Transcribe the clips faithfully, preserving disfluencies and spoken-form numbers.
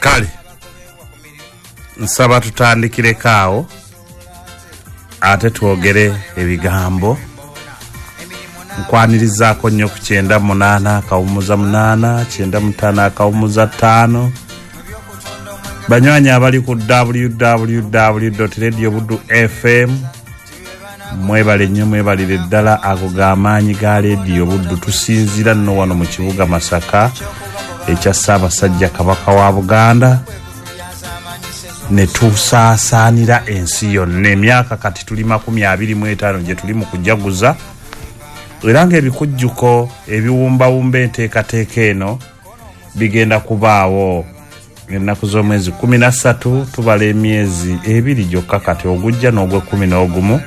Kale nsaba tutandikireko awo ate twogere ebigambo. Nkwanirizaako nnyo ku kyenda munaana akawummuza munaana kyenda mutaano akawummuza ttaano. Banywanyi abali ku w w w dot radio buddu f m, mwebale nnyo, mwebalire ddala. Ago g'amaanyi ga Radio Buddu. Tusinziira nno wano mu kibuga Masaka ekya Ssaabasajja Kabaka wa Buganda, ne tusaasaanira ensi yonna. Emyaka kati tuli makumi abiri mu etaano gye tuli mu kujaguza, era ng'ebikujjuko ebiwumbawumba enteekateeka eno bigenda kubaawo ennaku z'omwezi kkumi na ssatu. Tubala emyezi ebiri gyokka kati, ogujja n'ogw'ekkumi n'ogumu,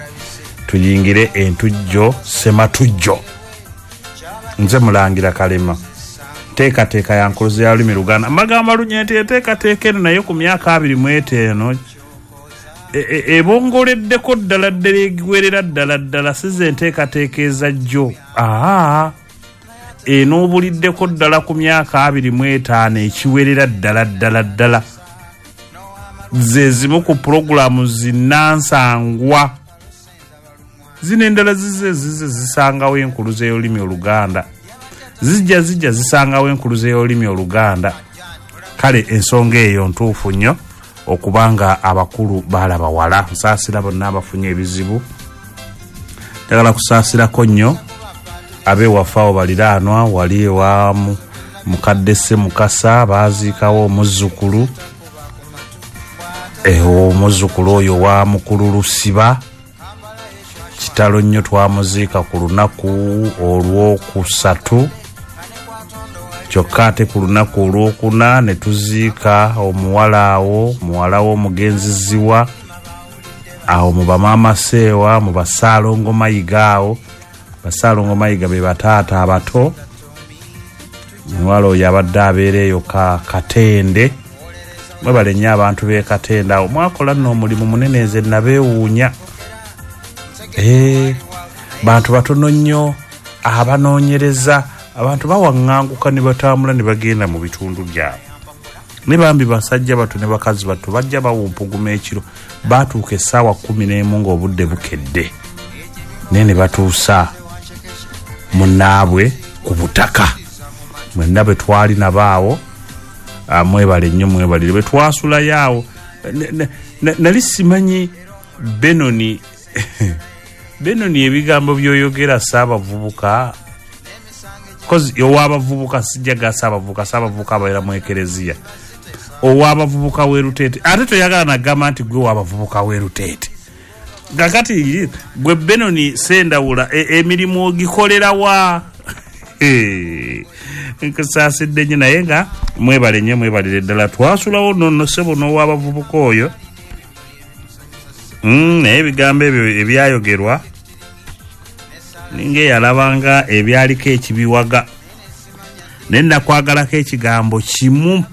tuyingire entujjo ssematujjo. Nze Mulangira Kalema. Nteekateeka ya nkuluze ya lulimi Luganda. Mbagamba lunye nti enteekateeka eno naye ku myaka abiri mu etaano ebongoleddeko ddala ddala, egwerera ddala ddala. Si ze nteekateeka ezajjo, aa enoobuliddeko ddala ku myaka abiri mu etaano ekiwerera ddala ddala ddala. Ze zimu ku pulogulaamu zinnansangwa. Zino endala zize zize zisangawo enkuluze y'olulimi Oluganda, zijja zijja zisangawo enkuluze y'olulimi Oluganda. Kale ensonga eyo ntuufu nnyo okubanga abakulu balaba wala. Nsaasira bonna abafunye ebizibu, njagala kusaasirako nnyo ab'ewaffe awo baliraanwa, wali ewa mukadde Ssemukasa baaziikawo omuzzukulu, omuzzukulu oyo wa mukulu Lusiba. Kitalo nnyo, twamuziika ku lunaku olwokusatu, kyokka ate ku lunaku olwokuna ne tuziika omuwala awo, muwala w'omugenzi Ziwa awo mu bamaama Seewa, mu Basaalongo Mayiga awo. Basaalongo Mayiga be bataata abato. Omuwala oyo abadde abeera eyo ka Katende. Mwebale nnyo abantu b'e Katende awo, mwakola nno omulimu munene, nze nabeewuunya. Eh, bantu batono nnyo abanoonyereza, abantu bawaŋŋanguka ne batambula ne bagenda mu bitundu byabwe. Ne bambi basajja bato ne bakazi bato bajja bawumpuguma ekiro, baatuuka essaawa kkumi n'emu ng'obudde bukedde, naye ne batuusa munnaabwe ku butaka. Mwenna bwe twali nabo awo, mwebale nnyo, mwebalire. Bwe twasulayo awo, nali simanyi Benoni Benoni ebigambo by'oyogera saabavubuka, kozi ow'abavubuka sijja ga saabavubuka, saabavubuka ababeera mu ekereziya, ow'abavubuka w'e Luteete. Ate toyagala nagamba nti gwe w'abavubuka w'e Luteete. Kakati gwe Benoni Sendawula emirimu ogikolera wa? Nkusaasidde nnyo, naye nga mwebale nnyo, mwebalire ddala. Twasulawo nno ssebo n'ow'abavubuka oyo. Naye ebigambo ebyo ebyayogerwa ninga eyalabanga ebyaliko ekibiwaga, naye nakwagalako ekigambo kimu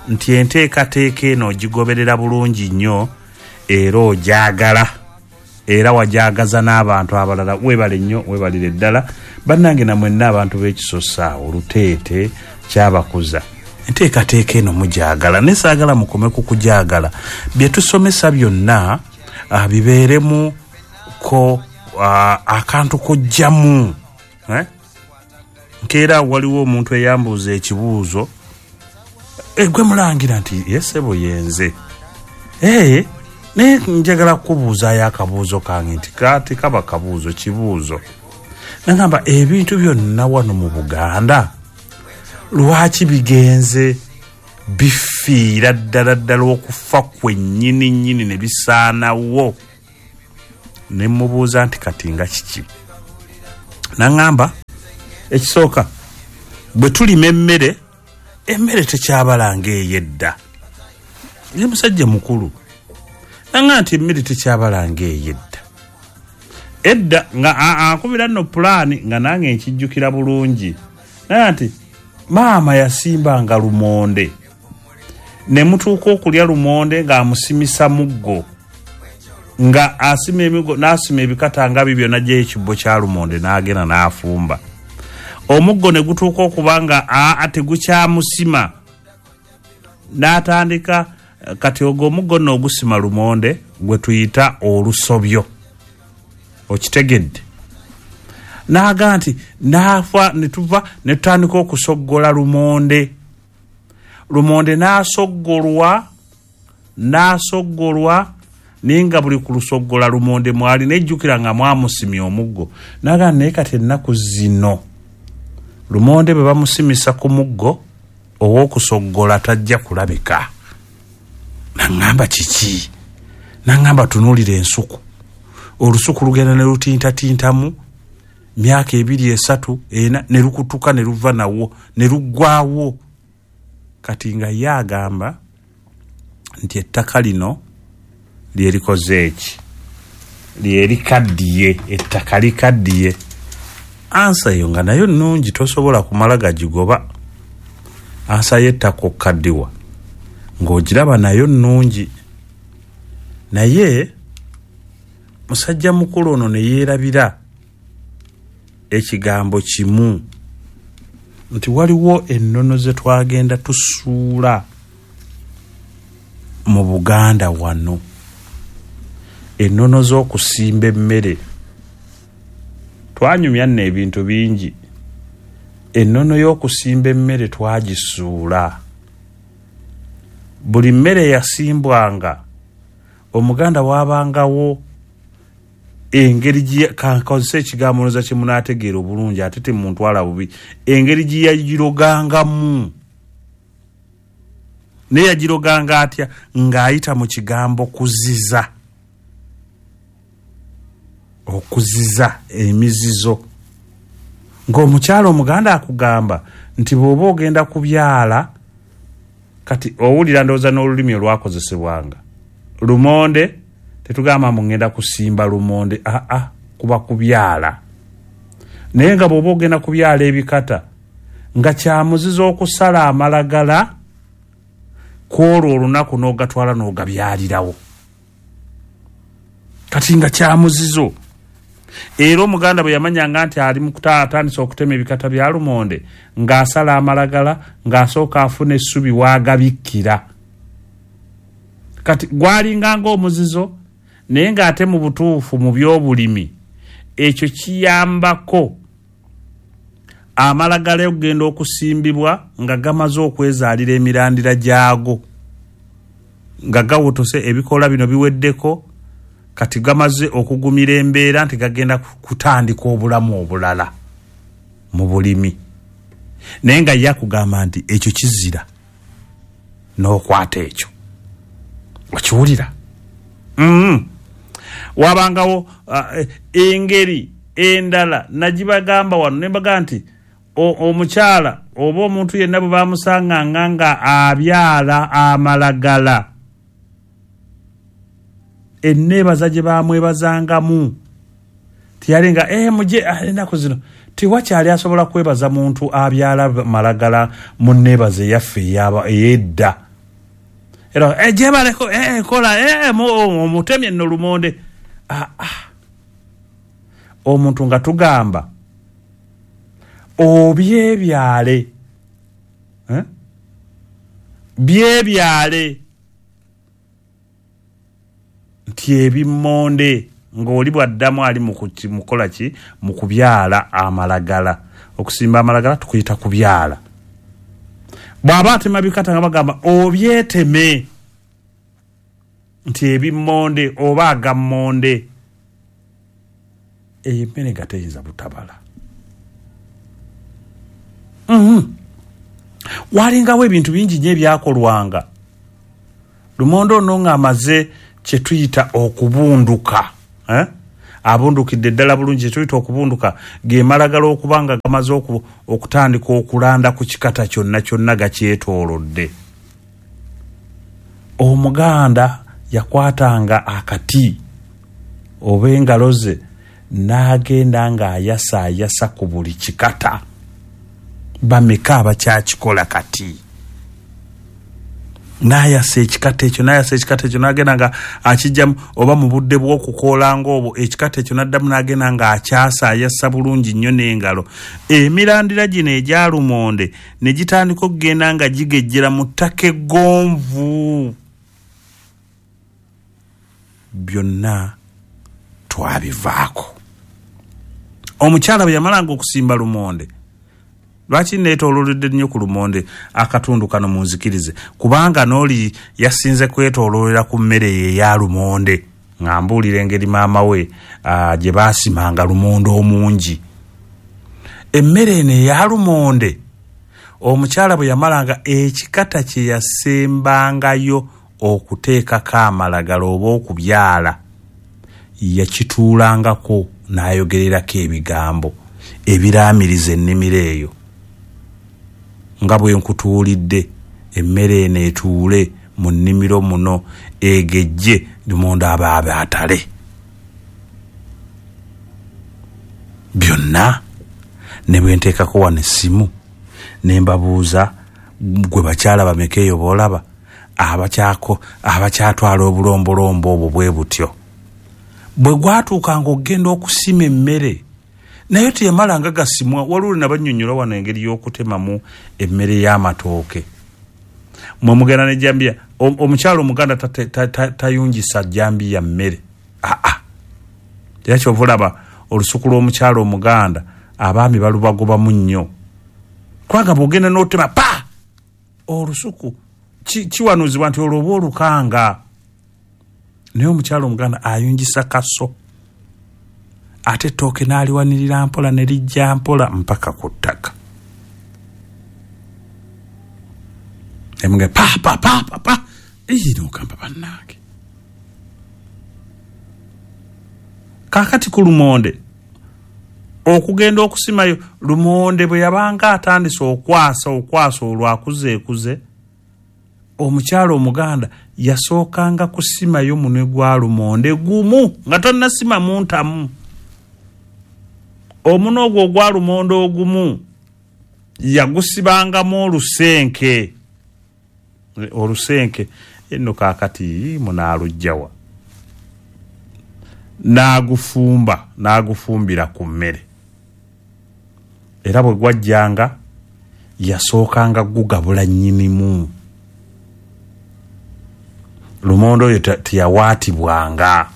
nti enteekateeka eno ogigoberera bulungi nnyo era ogyagala, era wagyagaza n'abantu abalala. Weebale nnyo, weebalire ddala. Bannange namwenna abantu b'ekisosa awo Luteete kyabakuza, enteekateeka eno mugyagala, naye saagala mukome ku kugyagala. Bye tusomesa byonna bibeeremu ko akantu kojjamu. Nkeera waliwo omuntu eyambuuza ekibuuzo, gwe mulangira nti yesebo yenze, ee naye njagala kukubuuzaayo akabuuzo kange nti kati kaba kabuuzo kibuuzo. Nagamba ebintu byonna wano mu Buganda lwaki bigenze bifiira ddala ddala okufa kwennyini nnyini ne bisaanawo? Ne mubuuza nti kati nga kiki? Naŋŋamba ekisooka, bwe tulima emmere, emmere tekyabala ng'ey'edda. Ye musajja mukulu. Naŋŋamba nti emmere tekyabala ng'ey'edda. Edda nga akubira nno pulaani nga nange nkijjukira bulungi. Naye nti maama yasimbanga lumonde, ne mutuuka okulya lumonde ng'amusimisa muggo, nga asima emigo n'asima ebikata nga bibyo n'aggyayo ekibbo kya lumonde n'agenda n'afumba. Omuggo ne gutuuka okuba nga aa tegukyamusima, N'atandika kati ogwo omuggo nno ogusima lumonde gwe tuyita olusobyo, okitegedde? N'aga nti n'afa ne tuva ne tutandika okusoggola lumonde. Lumonde n'asoggolwa n'asoggolwa naye nga buli ku lusoggola lumonde mwali, nejjukira nga mwamusimye omuggo. N'aga naye kati ennaku zino lumonde bwe bamusimisa ku muggo ow'okusoggola tajja kulabika. Naŋŋamba kiki? Naŋŋamba tunuulira ensuku, olusuku lugenda ne lutintatintamu myaka ebiri esatu ena ne lukutuka ne luva nawo ne luggwawo. Kati nga ye agamba nti ettaka lino lyerikoze eki, lyerikaddiye, ettaka likaddiye. Ansa eyo nga nayo nnungi, tosobola kumala gagigoba. Ansa y'ettaka okukaddiwa ng'ogiraba nayo nnungi, naye musajja mukulu ono ne yeerabira ekigambo kimu nti waliwo ennono ze twagenda tusuula mu Buganda wano, ennono z'okusimba emmere. Twanyumya nno ebintu bingi. Ennono y'okusimba emmere twagisuula. Buli mmere yasimbwanga Omuganda waabangawo engeri gye, kankozesa ekigambo noza kye munaategeera obulungi ate temuntwala bubi, engeri gye yagirogangamu. Naye yagiroganga atya? Ng'ayita mu kigambo kuziza, okuziza emizizo. Ng'omukyala Omuganda akugamba nti bw'oba ogenda kubyala, kati owulira ndowooza n'olulimi olwakozesebwanga lumonde, tetugamba mbu ngenda kusimba lumonde, aa, kuba kubyala. Naye nga bw'oba ogenda kubyala ebikata, nga kyamuzizo okusala amalagala kwolwo olunaku n'ogatwala n'ogabyalirawo. Kati nga kyamuzizo. Era Omuganda bwe yamanyanga nti ali mu atandise okutema ebikata bya lumonde, ng'asala amalagala, ng'asooka afuna essubi w'agabikkira. Kati gwalinga ng'omuzizo, naye ng'ate mu butuufu mu by'obulimi ekyo kiyambako amalagala okugenda okusimbibwa nga gamaze okwezaalira emirandira gyago, nga gawotose ebikoola bino biweddeko, kati gamaze okugumira embeera nti gagenda kutandika obulamu obulala mu bulimi. Naye nga ye akugamba nti ekyo kizira n'okwata ekyo, okiwulira? Mm. Wabangawo uh, engeri endala nagibagamba wano ne mbaga nti omukyala oba omuntu yenna bwe bamusanganga nga abyala amalagala, enneebaza gye bamwebazangamu tiyalinga eh, muje ennaku zino tiwakyali asobola kwebaza muntu abyala malagala mu nneebaza eyaffe ey'edda. Era eh, gyebaleko eh, kola eh, omutemye nno lumonde. Ah, ah. Omuntu nga tugamba obyebyale, eh? Byebyale nti ebimmonde ng'oli bw'addamu ali mukola ki? Mu kubyala amalagala. Okusimba amalagala tukuyita kubyala. Bw'aba atema bikata nga bagamba obyeteme nti ebimmonde oba agammonde. Eyo emmere nga teyinza butabala. Mm-hmm. Walingawo ebintu bingi nnyo ebyakolwanga. Lumonde ono ng'amaze kye tuyita okubunduka, eh? Abundukidde ddala bulungi, kye tuyita okubunduka ge malagala okuba nga gamaze okutandika okulanda ku kikata kyonna kyonna gakyetoolodde. Omuganda yakwatanga akati oba engalo ze n'agenda ng'ayasaayasa ku buli kikata. Bameka abakyakikola kati? N'ayasa ekikata ekyo, n'ayasa ekikata ekyo, n'agenda nga akijjamu oba mu budde bw'okukoola ng'obwo ekikata ekyo n'addamu n'agenda nga akyasa, ayasa bulungi nnyo n'engalo. Emirandira gino egya lumonde ne gitandika okugenda nga gigejjera mu ttaka eggonvu. Byonna twabivaako. Omukyala bwe yamalanga okusimba lumonde, lwaki neetoololedde nnyo ku lumonde akatundu kano munzikirize, kubanga n'oli yasinze kwetooloolera ku mmere ye eya lumonde, nga mbuulira engeri maama we gye baasimanga lumonde omungi. Emmere eno eya lumonde omukyala bwe yamalanga ekikata kye yasembangayo okuteekako amalagala oba okubyala, yakituulangako n'ayogererako ebigambo ebiraamiriza ennimiro eyo. Nga bwe nkutuulidde emmere eno etuule mu nnimiro muno egejje lumonde aba atale. Byonna ne bwe nteekako wano essimu ne mbabuuza, gwe bakyala bameka eyo b'olaba abakyako abakyatwala obulombolombo obwo bwe butyo. Bwe gwatuukanga okugenda okusima emmere, naye teyamalanga gasimwa. Waliwo nabannyonnyola wano engeri y'okutemamu emmere y'amatooke. Mwe mugenda n'ejjambiya, omukyala omuganda tayungisa jjambiya mmere. Aa, era kyova olaba olusuku lw'omukyala omuganda abaami balubagobamu nnyo, kubanga bw'ogenda n'otema pa olusuku kiwanuuzibwa nti olwo oba olukanga. Naye omukyala omuganda ayungisa kaso, ate ettooke n'aliwanirira mpola ne lijja mpola mpaka ku ttaka. Emuge pa pa pa pa pa, n'ogamba bannange. Kaakati ku lumonde okugenda okusimayo, lumonde bwe yabanga atandise okwasa okwasa olwo akuzeekuze, omukyala omuganda yasookanga kusimayo munwe gwa lumonde gumu nga tannasimamu ntamu. Omunwe ogwo ogwa lumonde ogumu yagusibangamu olusenke. Olusenke eno kaakati munaaluggyawa, n'agufumba n'agufumbira ku mmere. Era bwe gwajjanga yasookanga gugabula nnyinimu. Lumonde oyo teyawaatibwanga.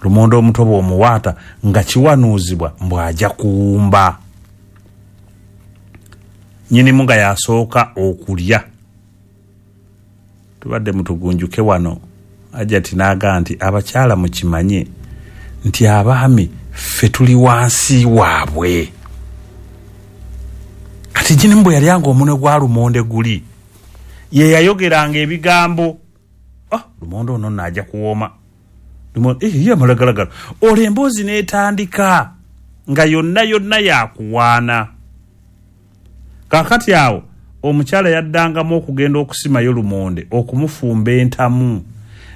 Lumonde omuto bw'omuwaata nga kiwanuuzibwa mbw'ajja kuwumba. Nnyinimu nga yasooka okulya. Tubadde mutugunjuke wano, Hajjati n'agamba nti abakyala mukimanye nti abaami ffe tuli wansi waabwe. Kati nnyinimu bwe yalyanga omunwe gwa lumonde guli, ye yayogeranga ebigambo, ah, lumonde ono nno ajja kuwooma, eh, ye amalagalagala. Olwo emboozi n'etandika nga yonna yonna yakuwaana. Kaakati awo omukyala yaddangamu okugenda okusimayo lumonde okumufumba entamu.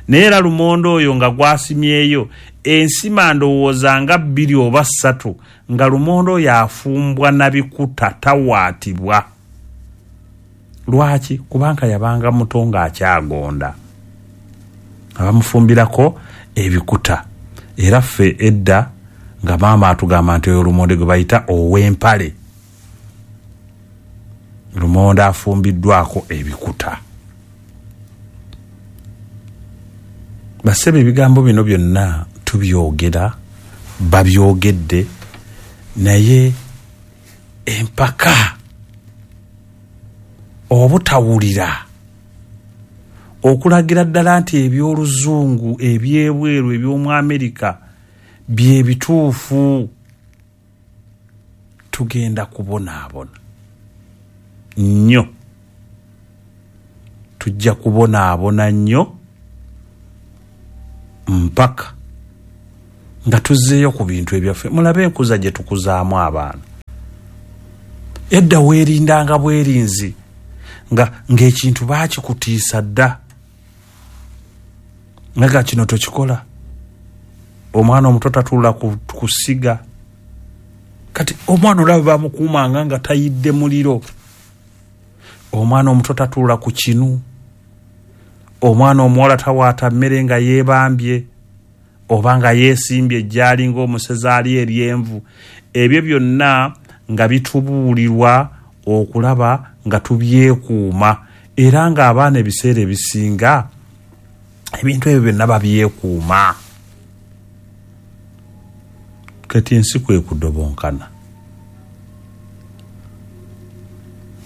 Naye era lumonde oyo nga gwasimyeyo ensima ndowooza nga bbiri oba ssatu, nga lumonde oyo afumbwa na bikuta, tawaatibwa. Lwaki? Kubanga yabanga muto ng'akyagonda, abamufumbirako ebikuta. Era ffe edda nga maama atugamba nti oyo lumonde gwe bayita ow'empale, lumonde afumbiddwako ebikuta. Bassebo, ebigambo bino byonna tubyogera, babyogedde, naye empaka, obutawulira, okulagira ddala nti eby'oluzungu eby'ebweru eby'omu Amerika bye bituufu, tugenda kubonaabona nnyo. Tujja kubonaabona nnyo mpaka nga tuzzeeyo ku bintu ebyaffe. Mulabe enkuza gye tukuzaamu abaana. Edda weerindanga bwerinzi nga ng'ekintu baakikutiisa dda, nga kino tokikola. Omwana omuto tatuula ku kusiga. Kati omwana olaba bamukuumanga nga tayidde muliro. Omwana omuto tatuula ku kinu. Omwana omuwala tawaata mmere nga yeebambye oba nga yeesimbye gy'ali ng'omusezi ali eryenvu. Ebyo byonna nga bitubuulirwa okulaba nga tubyekuuma, era ng'abaana ebiseera ebisinga ebintu ebyo byonna babyekuuma. Kati ensi kwe kudobonkana.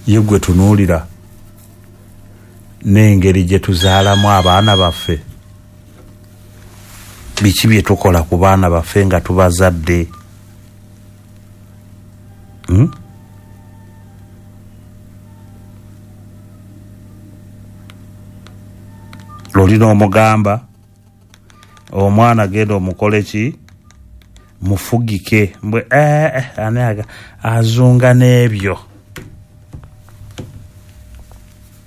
Ye gwe tunuulira n'engeri gye tuzaalamu abaana baffe, biki bye tukola ku baana baffe nga tubazadde? Hmm? Olina omugamba omwana genda omukole ki, mufugike mbwe eh, eh, ani azunga n'ebyo.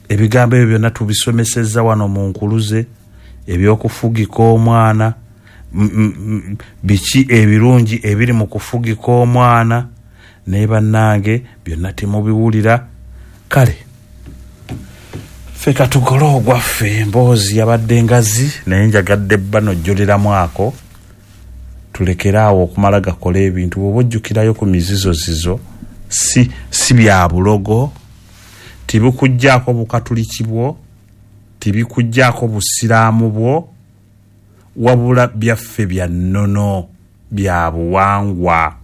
Ebigambo ebyo byonna tubisomesezza wano mu nkuluze, ebyokufugika omwana, biki ebirungi ebiri mu kufugika omwana, naye bannange byonna temubiwulira. Kale ffe katukole ogwaffe. Emboozi yabadde ngazi, naye njagadde bano jjuliramu ako, tulekere awo okumala gakola ebintu. Bw'oba ojjukirayo ku mizizozizo, si, si bya bulogo, tibikuggyako bukatuliki bwo, tibikuggyako busiraamu bwo, wabula byaffe bya nnono, bya buwangwa.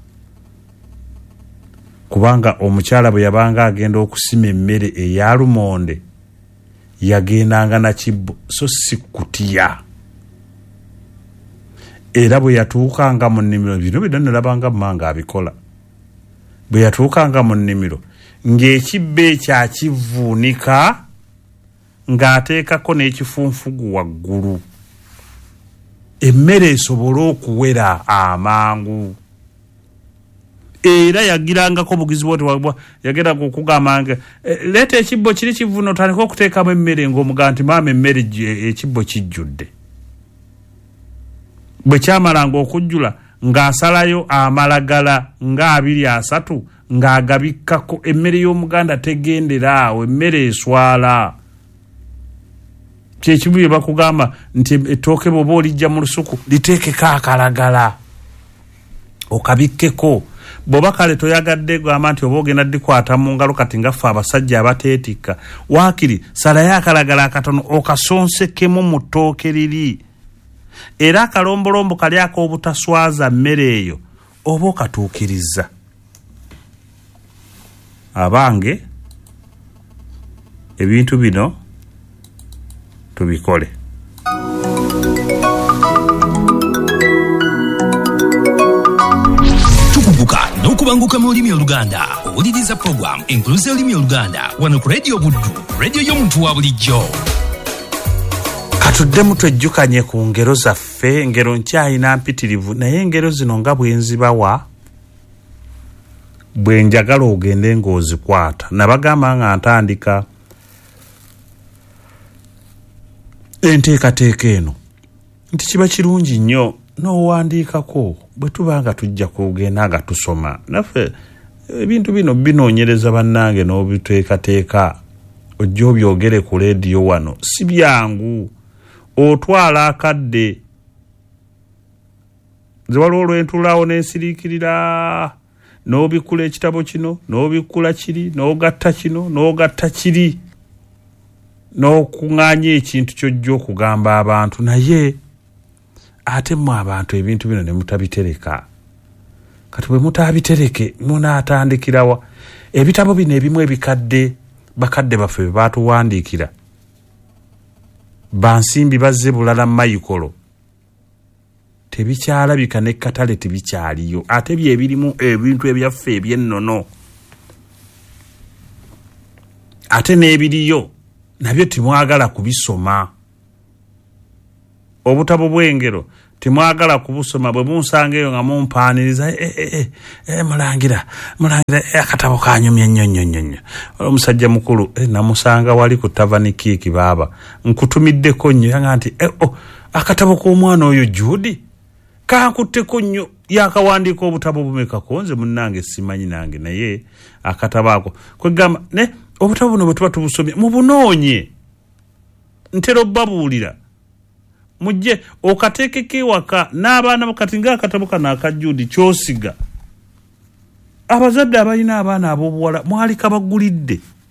Kubanga omukyala bwe yabanga agenda okusima emmere eya lumonde, yagendanga na kibbo so si kutiya. Era bwe yatuukanga mu nnimiro, bino byonna nalabanga mmange abikola, bwe yatuukanga mu nnimiro ng'ekibbo ekyo akivuunika ng'ateekako n'ekifunfugu waggulu, emmere esobole okuwera amangu. Era yagirangako bugizi bwoti, yagendanga okugamba nga leeta ekibbo kiri kivuno otandike okuteekamu emmere, ng'omugamba nti maama emmere ekibbo kijjudde. Bwe kyamalanga okujjula ng'asalayo amalagala nga abiri asatu ng'agabikkako. Emmere y'Omuganda tegendera awo, emmere eswala. Kyekimu bye bakugamba nti ettooke bw'oba olijja mu lusuku liteekeko akalagala okabikkeko. Bw'oba kale toyagadde gamba nti oba ogenda ddikwata mu ngalo, kati nga ffe abasajja abateetikka, waakiri salayo akalagala akatono okasonsekemu mu ttooke liri. Era akalombolombo kali ak'obutaswaza mmere eyo oba okatuukiriza. Abange, ebintu bino tubikole. Tukuguka n'okubanguka mu lulimi Oluganda. Owuliriza program Enkuluze y'olulimi Oluganda wano ku Radio Buddu, radio y'omuntu wa bulijjo. Katuddemu twejjukanye ku ngero zaffe. Engero nkyayina mpitirivu, naye engero zino nga bwe nzibawa bwe njagala ogende ng'ozikwata. Nabagamba nga ntandika enteekateeka eno nti kiba kirungi nnyo n'owandiikako bwe tuba nga tujja kugenda nga tusoma. Naffe ebintu bino binoonyereza bannange n'obiteekateeka, ojja obyogere ku leediyo wano. Si byangu, otwala akadde. Nze waliwo olwentulaawo n'ensiriikirira, n'obikkula ekitabo kino, n'obikkula kiri, n'ogatta kino, n'ogatta kiri, n'okuŋŋaanya ekintu ky'ojja okugamba abantu. Naye ate mmwe abantu ebintu bino ne mutabitereka. Kati bwe mutabitereke munaatandikirawa? Ebitabo bino ebimu ebikadde bakadde baffe bye baatuwandiikira, bansimbi bazze bulala mayikolo, tebikyalabika n'ekkatale tebikyaliyo, ate bye birimu ebintu ebyaffe eby'ennono. Ate n'ebiriyo nabyo temwagala kubisoma. Obutabo bw'engero temwagala kubusoma. Bwe munsanga eyo nga mumpaaniriza, eh, eh, eh, mulangira mulangira, eh, akatabo kanyumye nnyo nnyo nnyo nnyo. Omusajja mukulu eh, namusanga wali ku tavani kiiki, baaba nkutumiddeko nnyo, yanga nti eh, oh, akatabo k'omwana oyo Jude kankutteko nnyo, yakawandiika obutabo bumekako. Nze munnange simanyi nange, naye akatabo ako kwegamba ne obutabo buno bwe tuba tubusomye mubunoonye. Ntera obbabuulira, mujje okateekeko ewaka n'abaana. Kati ngaakatabo kano aka Jude kyosiga, abazadde abalina abaana ab'obuwala mwali kabagulidde.